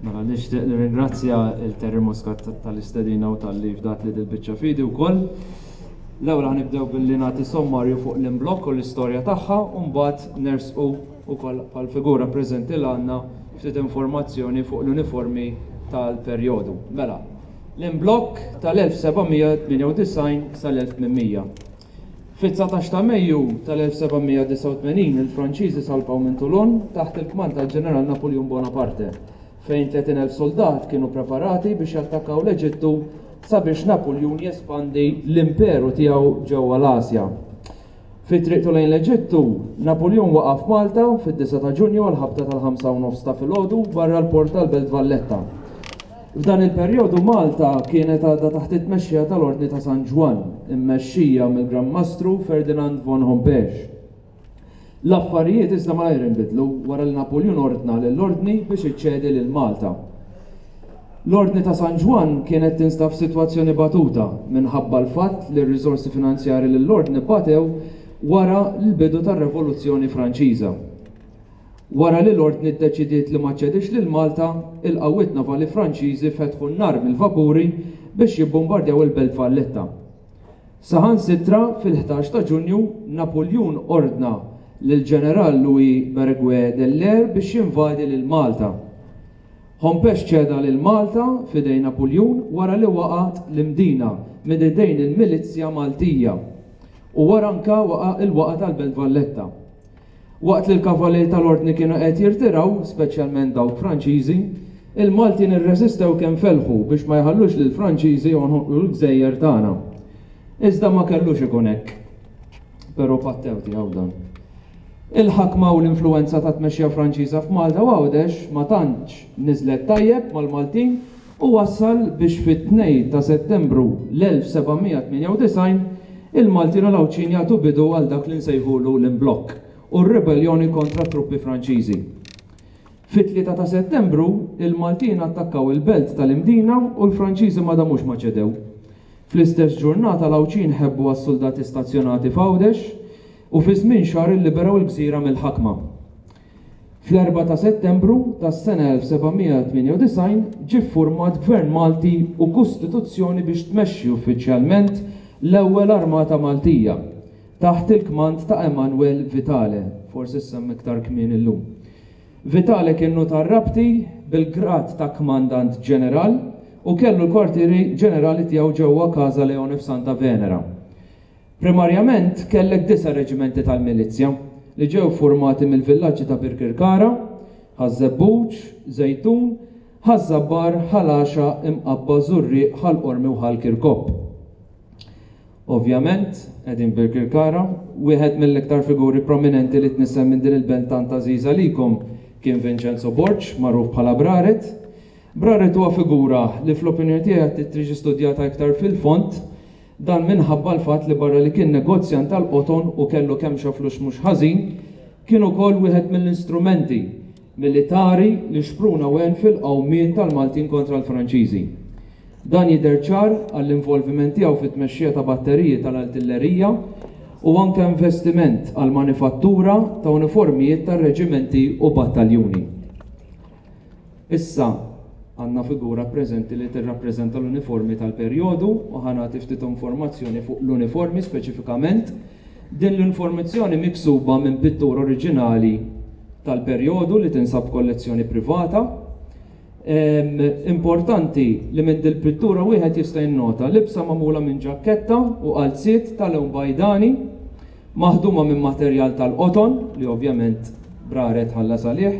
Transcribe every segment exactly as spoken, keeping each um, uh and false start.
Mela nixtieq nirringrazzja lil Terry Muscat tal-istedina u talli fdat li dil-biċċa f'idi wkoll. L-ewwel ħa nibdew billi nagħti sommarju fuq l-imblokk u l-istorja tagħha u mbagħad nersqu wkoll bħal figura preżenti l għandna ftit informazzjoni fuq l-uniformi tal-perjodu. Mela, l-imblokk tal-elf seba' mija tmienja u disgħin sal-elf tmien mija. Fit-dsatax ta' Mejju tal-elf seba' mija disgħa u tmenin il-Franċiżi salpaw minn Toulon taħt il-kmand tal-Ġeneral Napoleon Bonaparte, fejn tletin elf soldat kienu preparati biex jattakkaw l-Eġittu sabiex Napoleon jespandi l-imperu tiegħu ġewwa l-Asja. Fi triqtu lejn l-Eġittu, Napoleon waqaf Malta fid-disgħa ta' Ġunju għal ħabta tal-ħamsa u nofs ta' filgħodu barra l-port tal-Belt Valletta. F'dan il-perjodu Malta kienet għadha taħt it-tmexxija tal-Ordni ta' San Ġwann, immexxija mill-Gran Mastru Ferdinand von Hompesch. L-affarijiet iżda malajr inbidlu wara li Napoleon ordna lill-Ordni biex iċċedi lil Malta. L-Ordni ta' San Ġwann kienet tinstab f'sitwazzjoni batuta minħabba l-fatt li r-riżorsi finanzjari lill-Ordni batew wara l-bidu tar-Revoluzzjoni Franċiża. Wara li l-Ordni ddeċidiet li ma ċedix lil Malta, il-qawwiet navali Franċiżi fetħu n-nar mill-vapuri biex jibbombardjaw il-Belt Valletta. Saħansitra fil-ħdax ta' Ġunju Napoleon ordna lil ġeneral Louis Bréguet Dallaire biex jinvadi lil Malta. Hompesch ċeda lil Malta f'idejn Napoleon wara li waqgħet l-Imdina minn idejn il-Milizzja Maltija u wara anka waqa' il-waqa tal-Belt Valletta. Waqt li l-kavalieri tal-Ordni kienu qed jirtiraw, speċjalment dawk Franċiżi, il-Maltin irreżistew kemm felħu biex ma jħallux lil Franċiżi jonħolqu l-gżejjer tagħna. Iżda ma kellux ikun hekk. Però pattew tiegħu dan. Il-ħakma u l-influenza ta' tmexxija Franċiża f'Malta u Għawdex ma tantx niżlet tajjeb mal-Maltin u wassal biex fit-tnejn ta' Settembru l-elf seba' mija tmienja u disgħin il-Maltin u l-Għawdxin jagħtu bidu għal dak li nsejħulu l-imblokk u r-ribellioni kontra truppi Franċiżi. Fit-tlieta ta' Settembru il-Maltin attakkaw il-belt tal-Imdina u l-Franċiżi ma damux ma ċedew. Fl-istess ġurnata l-Għawdxin ħebbu għas-soldati stazzjonati f'Għawdex u fi żmien xahar illiberaw il-gżira mill-ħakma. Fl-erbgħa ta' Settembru tas-sena elf seba' mija tmienja u disgħin ġie ffurmat Gvern Malti u Kostituzzjoni biex tmexxi uffiċjalment l-ewwel Armata Maltija taħt il-kmand ta' Emanuel Vitale, forsi semma iktar kmieni illum. Vitale kien nutar Rabti bil-grad ta' kmandant ġeneral u kellu l-kwartieri ġenerali tiegħu ġewwa Casa Leone f'Santa Venera. Primarjament kellek disa' reġimenti tal-milizja li ġew formati mill-villaġġi ta' Birkirkara, Ħaż-Żebbuġ, Żejtun, Ħaż-Żabbar, Ħal Għaxaq, Imqabba, Żurrieq, Ħal Qormi u Ħal Kirkop. Ovvjament, qegħdin Birkirkara, wieħed mill-iktar figuri prominenti li tnissel minn din il-belt tant għażiża likom kien Vincenzo Borg, magħruf bħala Braret. Braret huwa figura li fl-opinjoni tiegħi tiġi studjata iktar fil-fond. Dan minħabba l-fatt li barra li kien negozjant tal-qoton u kellu kemm flus mhux ħażin, kien ukoll wieħed mill-istrumenti militari li xpruna wen fil-qawmien tal-Maltin kontra l-Franċiżi. Dan jidher ċar għall-involviment tiegħu fit-tmexxija ta' batteriji tal-artillerija u anke investiment għal manifattura ta' uniformijiet tar-reġimenti u battaljuni. Issa għandna figura preżenti li tirrappreżenta l-uniformi tal-perjodu u ħa nagħti ftit informazzjoni fuq l-uniformi speċifikament. Din l-informazzjoni miksuba minn pittura oriġinali tal-perjodu li tinsab kollezzjoni privata. Em, importanti li minn dil-pittura wieħed jista' jinnota libsa magħmula minn ġaketta u qalziet tal-lewn bajdani maħduma minn materjal tal-qoton li ovvjament Braret ħallas għalih.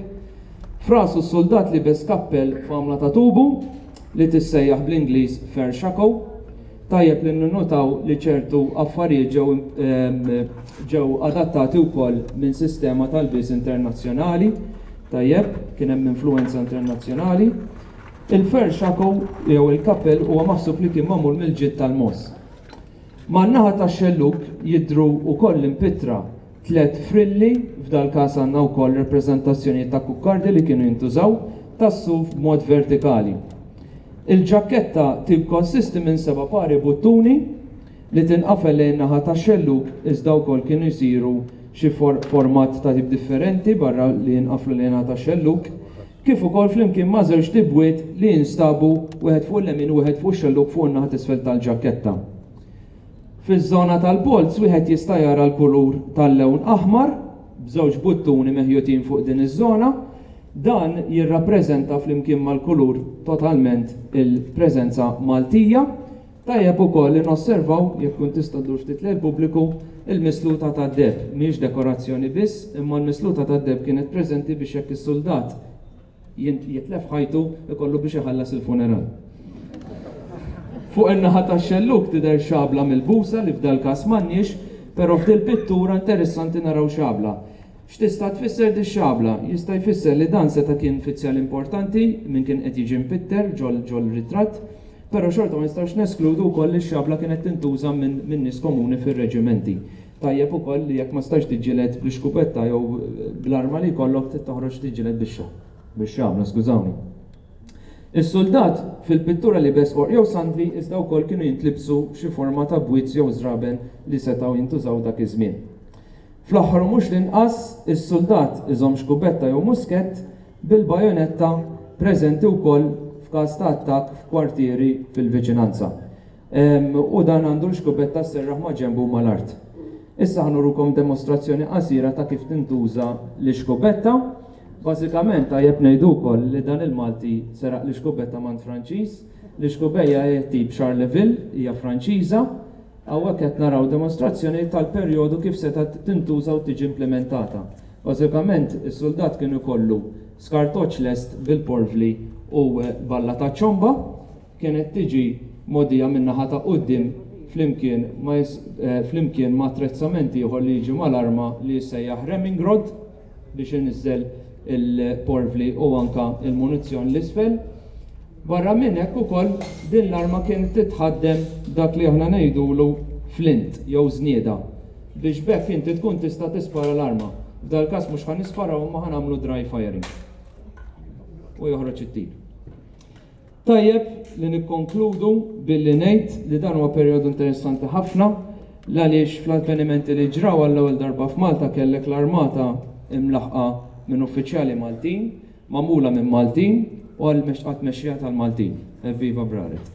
F'rasu s-soldat libes kappell f'għamla ta' tubu li tissejjaħ bl-Ingliż fur shako. Tajjeb li ninnotaw li ċertu affarijiet ġew em, ġew adattati wkoll minn sistema tal-lbies internazzjonali. Tajjeb, kien hemm influenza internazzjonali. Il-fur shako jew il-kappell huwa maħsub li kien magħmul mill-ġild tal-mogħoż. Man-naħa tax-xelluk jidhru wkoll impittra tlet frilli, f'dal każ għandna wkoll rappreżentazzjoni ta' kukkardi li kienu jintużaw tas-suf b'mod vertikali. Il-ġaketta tikkonsisti minn seba' pari buttuni li tinqafel lejn naħa tax-xelluk, iżda wkoll kienu jsiru xi for format ta' tip differenti barra li jinqaflu lejn naħa tax-xelluk. kif ukoll flimkien ma' żewġ tibwiet li jinstabu wieħed fuq il-lemin u wieħed fuq ix-xellug fuq in-naħa t'isfel tal-ġaketta. Fiż-żona tal-polz wieħed jista' jara l-kulur tal-lewn aħmar b'żewġ buttuni meħjutin fuq din iż-żona. Dan jirrappreżenta flimkien mal-kulur totalment il-preżenza Maltija. Tajjeb ukoll li nosservaw, jekk tkun tista' ddur ftit lejn pubbliku, il-misluta tad-deheb. Mhijiex dekorazzjoni biss, imma l-misluta tad-deheb kienet preżenti biex jekk is-suldat jitlef ħajtu ikollu biex iħallas il-funeral. Fuq in-naħa tax-xellug tidher xabla mill-busa li f'dal każ m'għandniex, però f'dil pittura interessanti naraw xabla. X'tista' tfisser di xabla? Jista' jfisser li dan seta' kien fizzjal importanti minn kien qed jiġi mpitter ġol ġol ritratt, però xorta ma nistgħux neskludu wkoll li x-xabla kienet tintuża minn min nies komuni fir-reġimenti. Tajjeb ukoll li jekk ma stax tiġġieled bl-iskupetta jew bl-arma li jkollok trid toħroġ tiġġieled bix-xabla, skużawni. Is-soldat fil-pittura libes qorq jew sandli iżda wkoll kienu jintlibsu xi forma ta' bwiez jew żraben li setgħu jintużaw dak iż-żmien. Fl-aħħar u mhux l-inqas, is-soldat iżomm xkubetta jew muskett bil-bajonetta preżenti wkoll f'każ ta' attakk f'kwartieri fil-viċinanza. U dan għandu l-xkubetta sserraħ ma' ġenbu mal-art. Issa ħa nurukom demostrazzjoni qasira ta' kif tintuża l-ixkubetta. Bażikament tajjeb ngħidu wkoll li dan il-Malti seraq l-ixkubetta mant Franċiż. L-ixkubeja hija tip Charleville, hija Franċiża. Hawnhekk qed naraw demostrazzjoni tal-perjodu kif setgħet tintuża u tiġi implementata. Bażikament is-soldat kien ikollu skartoċ lest bil-porvli u balla ta' ċomba, kienet tiġi mogħdija min-naħa ta' quddiem flimkien ma' flimkien ma' attrezzament ieħor li jiġi mal-arma li jissejjaħ ramming rod biex iniżżel il-porvli u anka il-munizzjon l-isfel. Barra minn hekk ukoll din l-arma kienet titħaddem dak li aħna ngħidulu flint jew żnieda biex b'hekk inti tkun tista' tispara l-arma. F'dal każ mhux ħa nisparaw imma ħa nagħmlu dry firing. U joħroġ it-tir. Tajjeb li nikkonkludu billi ngħid li dan huwa perjodu interessanti ħafna għaliex fl-avvenimenti li ġraw għall-ewwel darba f'Malta kellek l-armata imlaħqa minn uffiċjali Maltin, magħmula minn Maltin u għal-tmexxija tal-Maltin. Evviva Braret!